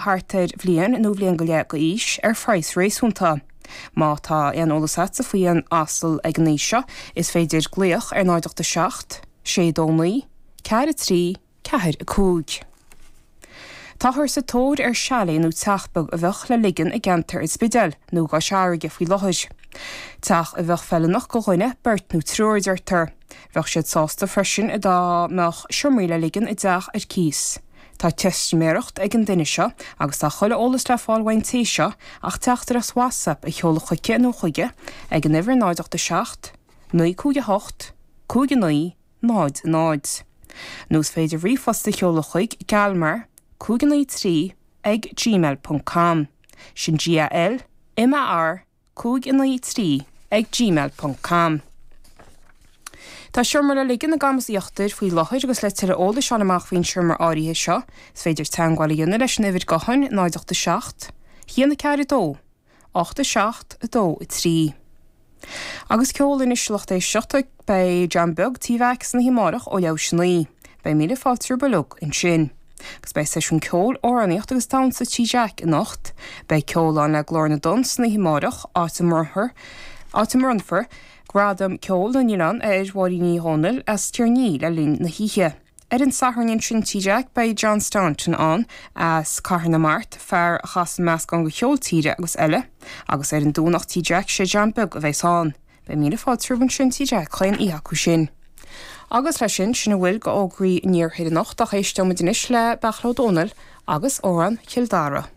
Thart ar bhliain nó bhliain go leith d'aois, ar phraghas réasúnta. Má tá aon eolas agatsa faoi aon asal ag an aois seo, is féidir glaoch ar 0 8 7 6 2 9 4 3 4 5. Táthar sa tóir ar chalet nó teach beag a bheadh le ligean i gceantar an Spidéil nó i gCois Fharraige faoi láthair. Teach a bheadh feiliúnach go dhuine, beirt nó triúr, a deirtear. Bheadh siad sásta freisin dá mbeadh seomraí le ligean i dteach ar cíos. Tá teistiméireacht ag an duine seo agus tá chuile eolas le fáil uaidh an té seo ach teachtaireacht WhatsApp a sheoladh chuici nó chuige ag an uimhir 0 8 7 9 5 8 5 9 0 0. Nó is féidir ríomhphost a sheoladh chuig galmar 5 9 3 ag gmail ponc com. Sin G-A-L M-A-R 5 9 3 ag gmail ponc com. Tá seomra le ligean i gCamas Íochtair faoi láthair agus le tuilleadh eolais a fháil amach faoin seomra áirithe seo is féidir teagmháil a dhéanamh leis an uimhir gutháin 0 8 7 1 4 2 8 7 2 3. Agus ceol anois a lucht éisteachta, beidh John Beag Tí Mheaic san oíche amárach ó leathuair théis a 9. Beidh míle fáilte romhaibh uilig ansin. Agus beidh seisiún ceoil, amhránaíocht agus damhsa Tí Jack anocht. Beidh ceol ann le Glór na dTonn san oíche amárach, áit a mbronnfar áit a mbronnfar Gradam Ceoil na nOileán ar Mháirín Ní Dhomhnaill as Tír an Fhia le linn na hoíche. Ar an Satharn ansin Tí Jack beidh John Staunton ann as Cathair na Mart, fear a chasann meascán de cheol tíre agus eile. Agus ar an Domhnach Tí Jack sé John Beag a bheas ann. Beidh míle fáilte romhaibh ansin Tí Jack chaon oíche acu sin. Agus leis sin, sin a bhfuil de fhógraí an iarthair anocht ach éisteoimid anois le Beairtle Ó Domhnaill agus Amhrán Chill Dara.